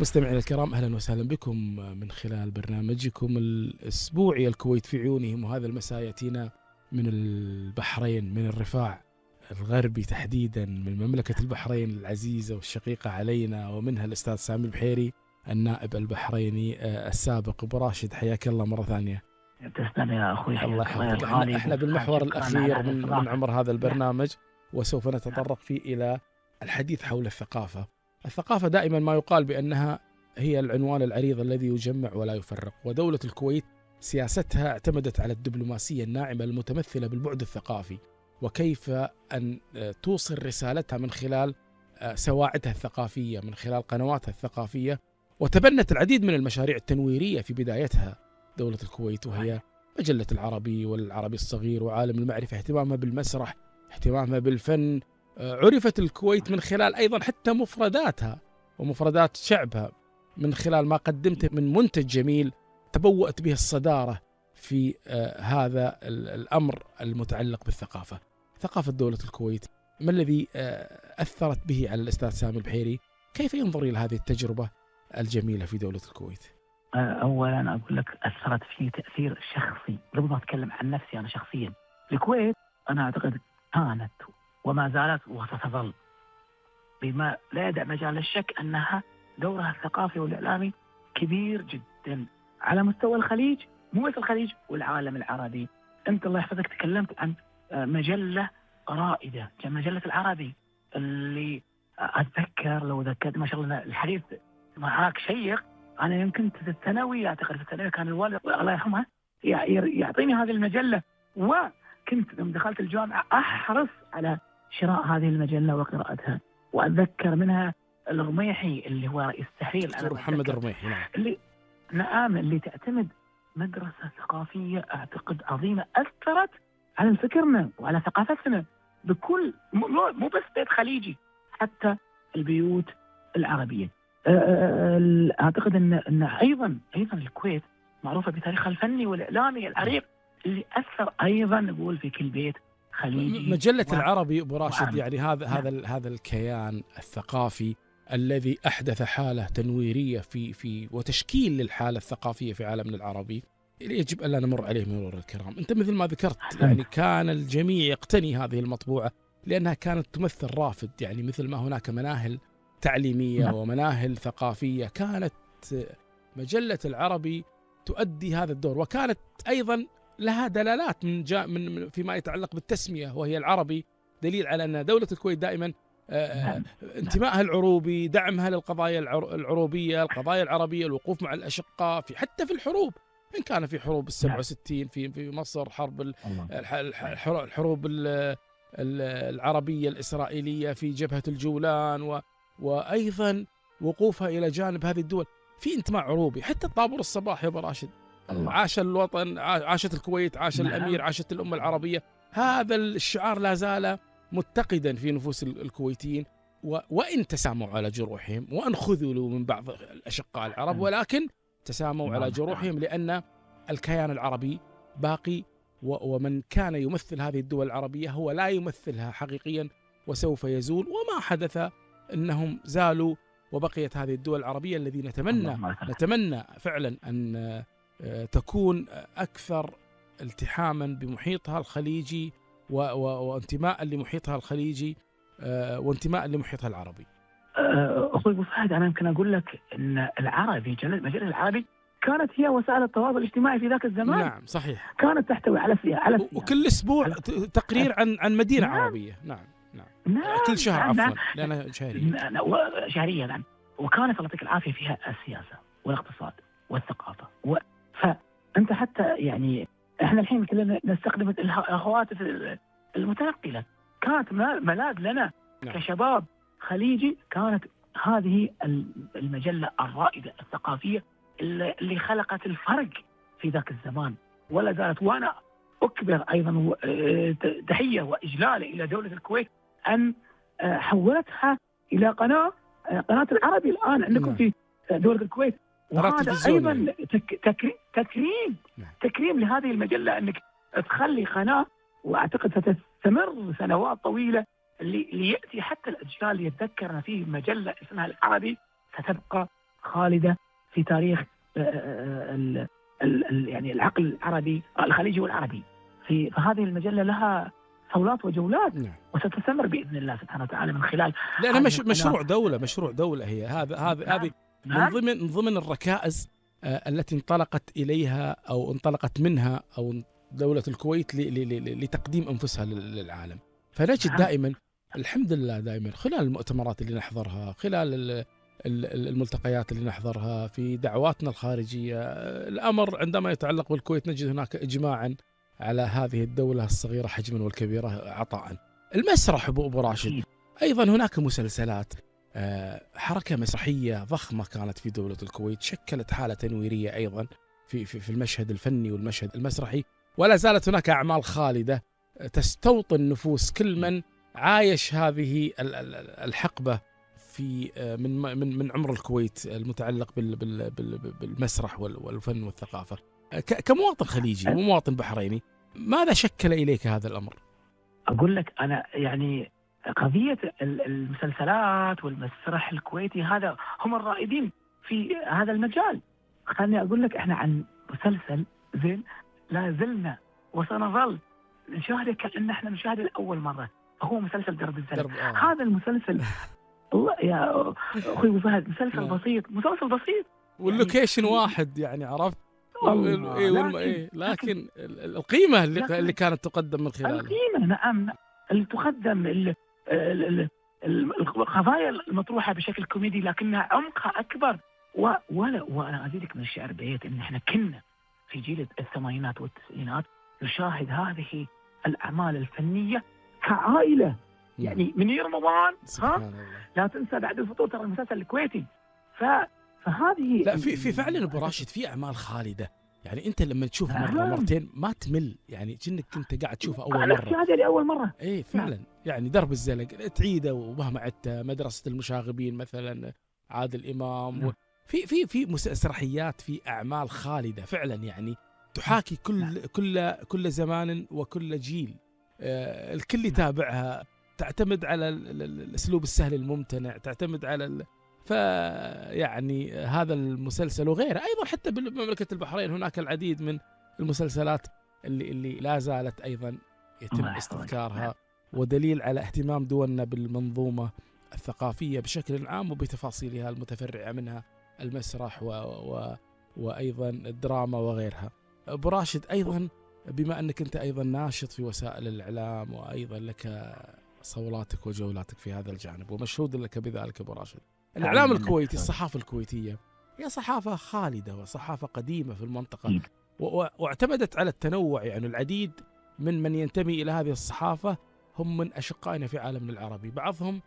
مستمعينا الكرام، أهلا وسهلا بكم من خلال برنامجكم الأسبوعي الكويت في عيونهم. وهذا المساء يأتينا من البحرين، من الرفاع الغربي تحديدا، من مملكة البحرين العزيزة والشقيقة علينا، ومنها الأستاذ سامي البحيري النائب البحريني السابق. أبو راشد، حياك الله مرة ثانية. تسلم يا أخوي، الله يحفظك. احنا بالمحور الأخير من عمر هذا البرنامج، وسوف نتطرق فيه إلى الحديث حول الثقافة. الثقافة دائما ما يقال بأنها هي العنوان العريض الذي يجمع ولا يفرق، ودولة الكويت سياستها اعتمدت على الدبلوماسية الناعمة المتمثلة بالبعد الثقافي، وكيف أن توصل رسالتها من خلال سواعدها الثقافية، من خلال قنواتها الثقافية. وتبنت العديد من المشاريع التنويرية في بدايتها دولة الكويت، وهي مجلة العربي والعربي الصغير وعالم المعرفة، اهتمامها بالمسرح، اهتمامها بالفن. عرفت الكويت من خلال أيضا حتى مفرداتها ومفردات شعبها، من خلال ما قدمته من منتج جميل تبوأت به الصدارة في هذا الأمر المتعلق بالثقافة. ثقافة دولة الكويت، ما الذي أثرت به على الأستاذ سامي البحيري؟ كيف ينظر إلى هذه التجربة الجميلة في دولة الكويت؟ أولا أقول لك أثرت في تأثير شخصي. قبل ما أتكلم عن نفسي أنا شخصيا، الكويت أنا أعتقد كانت وما زالت وستظل بما لا يدع مجال للشك أنها دورها الثقافي والإعلامي كبير جدا على مستوى الخليج، مو بس الخليج والعالم العربي. أنت الله يحفظك تكلمت عن مجلة رائدة، مجلة العربي، اللي أتذكر لو ذكرت ما شاء الله الحديث معاك شيق. أنا يمكن في الثانوي، أعتقد في الثانوي كان الوالد الله يرحمه يعطيني هذه المجلة، وكنت لما دخلت الجامعة أحرص على شراء هذه المجلة وقراءتها. وأتذكر منها الرميحي اللي هو رئيس التحرير، دكتور محمد الرميحي، اللي تعتمد مدرسة ثقافية أعتقد عظيمة، أثرت على فكرنا وعلى ثقافتنا بكل، مو بس بيت خليجي، حتى البيوت العربية. أعتقد أن أيضا الكويت معروفة بتاريخها الفني والإعلامي العريق اللي أثر أيضا نقول في كل بيت خليجي. مجلة العربي أبو راشد، يعني هذا الكيان الثقافي الذي أحدث حالة تنويرية في وتشكيل للحالة الثقافية في عالمنا العربي، يجب أن لا نمر عليه مرور الكرام. أنت مثل ما ذكرت يعني كان الجميع يقتني هذه المطبوعة لأنها كانت تمثل رافد، يعني مثل ما هناك مناهل تعليمية ومناهل ثقافية، كانت مجلة العربي تؤدي هذا الدور. وكانت أيضا لها دلالات من فيما يتعلق بالتسمية، وهي العربي، دليل على أن دولة الكويت دائما انتمائها العروبي، دعمها للقضايا العروبية، القضايا العربية، الوقوف مع الأشقاء حتى في الحروب، إن كان في حروب 67 في مصر، حرب الحروب العربية الإسرائيلية في جبهة الجولان، وأيضا وقوفها إلى جانب هذه الدول في انتماء عروبي. حتى الطابور الصباح يا أبو راشد، عاش الوطن، عاشت الكويت، عاش الأمير، عاشت الأمة العربية. هذا الشعار لا زال متقدا في نفوس الكويتيين، وإن تساموا على جروحهم وأن خذلوا من بعض الأشقاء العرب، ولكن تساموا على جروحهم لأن الكيان العربي باقي، ومن كان يمثل هذه الدول العربية هو لا يمثلها حقيقيا وسوف يزول. وما حدث أنهم زالوا وبقيت هذه الدول العربية الذي نتمنى فعلا أن تكون أكثر التحاما بمحيطها الخليجي وانتماء لمحيطها الخليجي وانتماء لمحيطها العربي. أخوي أبو فهد، أنا يمكن أقول لك أن العربي، مجلة العربي كانت هي وسائل التواصل الاجتماعي في ذاك الزمان. نعم صحيح، كانت تحتوي على سياسة، وكل أسبوع تقرير عن مدينة عربية. نعم كل شهر عفوا، لأنها شهريا. نعم. وكانت الله يعطيك العافية فيها السياسة والاقتصاد والثقافة فأنت حتى يعني إحنا الحين كلنا نستخدم الهواتف المتنقلة، كانت ملاذ لنا كشباب خليجي. كانت هذه المجلة الرائدة الثقافية اللي خلقت الفرق في ذاك الزمان ولا زالت. وأنا أكبر أيضا تحية وإجلال إلى دولة الكويت أن حولتها إلى قناة العربي الآن عندكم في دولة الكويت. وهذا أيضا تكريم لهذه المجلة أنك تخلي قناة، وأعتقد ستستمر سنوات طويلة اللي يأتي حتى الأجيال يتذكرنا فيه مجلة اسمها العربي ستبقى خالدة في تاريخ يعني العقل العربي الخليجي والعربي. فهذه المجلة لها صولات وجولات، نعم. وستستمر بإذن الله سبحانه وتعالى من خلال لأنها هذه القناة. مشروع دولة هي. هذه من نعم. ضمن الركائز التي انطلقت إليها أو انطلقت منها أو دولة الكويت لتقديم أنفسها للعالم. فنجد دائما الحمد لله دائما خلال المؤتمرات اللي نحضرها، خلال الملتقيات اللي نحضرها، في دعواتنا الخارجية، الأمر عندما يتعلق بالكويت نجد هناك إجماعا على هذه الدولة الصغيرة حجما والكبيرة عطاء. المسرح أبو راشد أيضا هناك مسلسلات، حركة مسرحية ضخمة كانت في دولة الكويت، شكلت حالة تنويرية أيضا في المشهد الفني والمشهد المسرحي، ولا زالت هناك أعمال خالدة تستوطن نفوس كل من عايش هذه الحقبة في من عمر الكويت المتعلق بالمسرح والفن والثقافة. كمواطن خليجي ومواطن بحريني، ماذا شكل إليك هذا الأمر؟ أقول لك أنا يعني قضية المسلسلات والمسرح الكويتي هذا هم الرائدين في هذا المجال. خلني أقول لك إحنا عن مسلسل زين لا زلنا وسنظل نشاهده كأن إحنا نشاهده لأول مرة، هو مسلسل درب الزلم. هذا المسلسل الله يا أخوي أبو فهد مسلسل بسيط واللوكيشن يعني واحد، يعني عرفت لكن القيمة اللي كانت تقدم من خلاله، القيمة نعم اللي تقدم، القضايا المطروحة بشكل كوميدي لكنها عمقها أكبر. وأنا أزيدك من الشعر بيت إن إحنا كنا في جيل الثمانينات والتسعينات نشاهد هذه الأعمال الفنية كعائلة، يعني من رمضان لا تنسى بعد الفطور ترى المسلسل الكويتي. فهذه لا في فعلا ابو راشد في اعمال خالده، يعني انت لما تشوف مره مرتين ما تمل، يعني كأنك كنت قاعد تشوفه اول مره. هذا لأول مره اي فعلا. يعني درب الزلق تعيده ومهما عدت، مدرسه المشاغبين مثلا عادل امام، في مسرحيات، في اعمال خالده فعلا، يعني تحاكي كل زمان وكل جيل، الكل يتابعها، تعتمد على الاسلوب السهل الممتنع، تعتمد على فيعني هذا المسلسل وغيره. ايضا حتى بمملكه البحرين هناك العديد من المسلسلات اللي لا زالت ايضا يتم استذكارها، ودليل على اهتمام دولنا بالمنظومه الثقافيه بشكل عام وبتفاصيلها المتفرعه منها المسرح وايضا الدراما وغيرها. ابو راشد ايضا بما انك انت ايضا ناشط في وسائل الاعلام، وايضا لك صولاتك وجولاتك في هذا الجانب ومشهود لك بذلك ابو راشد، الإعلام الكويتي، الصحافة الكويتية هي صحافة خالدة وصحافة قديمة في المنطقة، واعتمدت على التنوع. يعني العديد من ينتمي إلى هذه الصحافة هم من أشقائنا في عالمنا العربي، بعضهم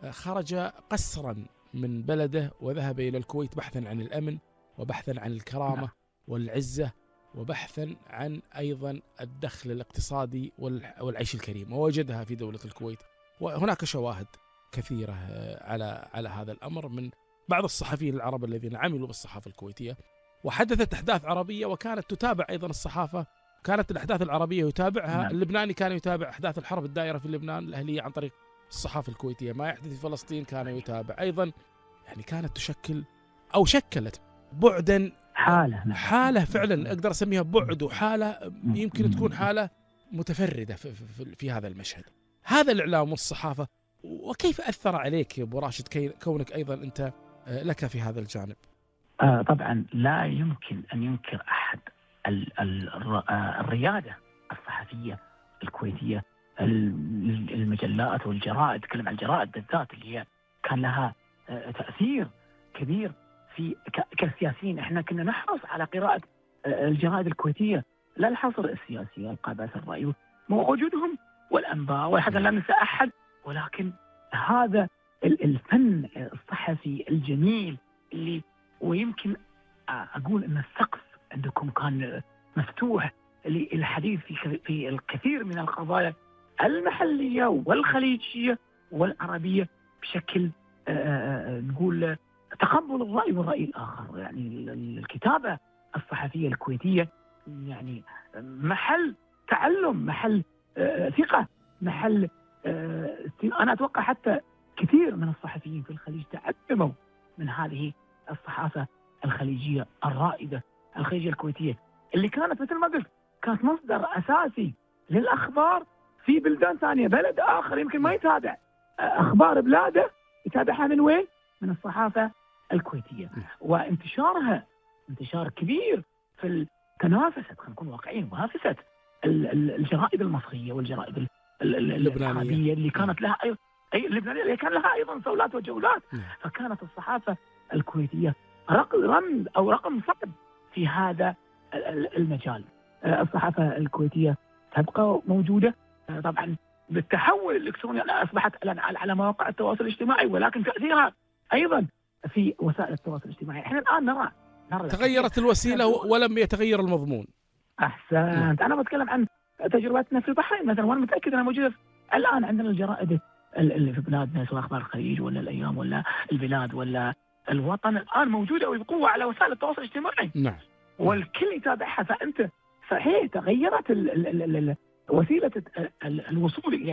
خرج قسرا من بلده وذهب إلى الكويت بحثا عن الأمن وبحثا عن الكرامة والعزة وبحثا عن أيضا الدخل الاقتصادي والعيش الكريم، ووجدها في دولة الكويت. وهناك شواهد كثيرة على هذا الأمر من بعض الصحفيين العرب الذين عملوا بالصحافة الكويتية، وحدثت أحداث عربية وكانت تتابع أيضا الصحافة. كانت الأحداث العربية يتابعها اللبناني، كان يتابع أحداث الحرب الدائرة في لبنان الأهلية عن طريق الصحافة الكويتية. ما يحدث في فلسطين كان يتابع أيضا، يعني كانت تشكل أو شكلت بعدا، حالة فعلا أقدر أسميها بعد وحالة، يمكن تكون حالة متفردة في هذا المشهد. هذا الإعلام والصحافة وكيف أثر عليك يا أبو راشد كونك أيضا أنت لك في هذا الجانب؟ طبعا لا يمكن أن ينكر أحد الريادة الصحفية الكويتية، المجلات والجرائد، تكلم عن الجرائد بالذات اللي هي كان لها تأثير كبير في كسياسيين. احنا كنا نحرص على قراءة الجرائد الكويتية، لا الحصر السياسي والقابات الرأي ووجودهم والأنباء، وحتى لا ننسى أحد، ولكن هذا الفن الصحفي الجميل اللي ويمكن أقول أن السقف عندكم كان مفتوح للحديث في الكثير من القضايا المحلية والخليجية والعربية بشكل نقول تقبل الرأي والرأي الآخر. يعني الكتابة الصحفية الكويتية يعني محل تعلم، محل ثقة، محل أنا أتوقع حتى كثير من الصحفيين في الخليج تعلموا من هذه الصحافة الصحافة الخليجية الرائدة، الخليجية الكويتية، اللي كانت مثل ما قلت كانت مصدر أساسي للأخبار في بلدان ثانية. بلد آخر يمكن ما يتابع أخبار بلاده، يتابعها من وين؟ من الصحافة الكويتية. وانتشارها انتشار كبير في تنافست، خلينا نكون واقعيين، منافست الجرائد المصرية والجرائد العربية اللي كانت لها اللبنانية اللي كان لها أيضا صولات وجولات. فكانت الصحافة الكويتية رمز أو رقم صعب في هذا المجال. الصحافة الكويتية تبقى موجودة طبعا بالتحول الإلكتروني، أصبحت على مواقع التواصل الاجتماعي، ولكن تأثيرها أيضا في وسائل التواصل الاجتماعي. احنا الآن نرى تغيرت الوسيلة ولم يتغير المضمون. أحسنت. أنا بتكلم عن تجربتنا في البحرين مثلا، وأنا متأكد أنها موجودة الآن عندنا الجرائد اللي في بلادنا، سواء أخبار الخليج ولا الأيام ولا البلاد ولا الوطن، الآن موجودة وبقوة على وسائل التواصل الاجتماعي. نعم. والكل يتابعها. فأنت صحيح تغيرت وسيلة الوصول إلى